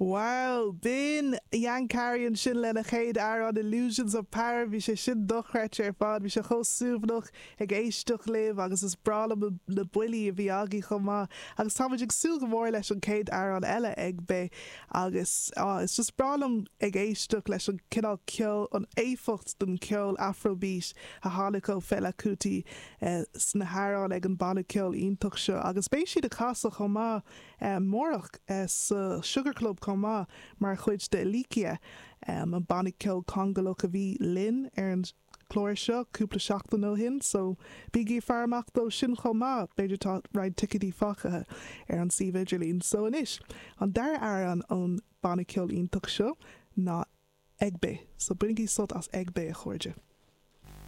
Wow! B'in Yankari ansin lena chéad amhrán Illusions of Power. Bhí sé sin dochreidte ar fad. Bhí sé chomh suaimhneach ag éisteacht libh agus is breá liom na buillí a bhí agaibh chomh maith. Agus táimid ag súil go mór leis an chéad amhrán eile Egbe agus ah is just breá liom ag éisteacht leis an cineál ceoil, an éifeacht den cheol Afrobeat a tháinig ó Fela Kuti sna hamhráin ag an banna ceoil iontach seo agus beidh siad ag casadh chomh maith amárach sa Sugar Club chomh maith mar chuid de Elikia, an banna ceoil Congólach a bhí linn ar an chlár seo cúpla seachtain ó shin so bígí ag faire amach dó sin chomh maith, b'fhéidir tá roinnt ticéidí fágtha ar an suíomh idirlín. So anois, an dara amhrán ón banna ceoil iontach seo ná Egbe. So bainigí sult as Egbe a chairde.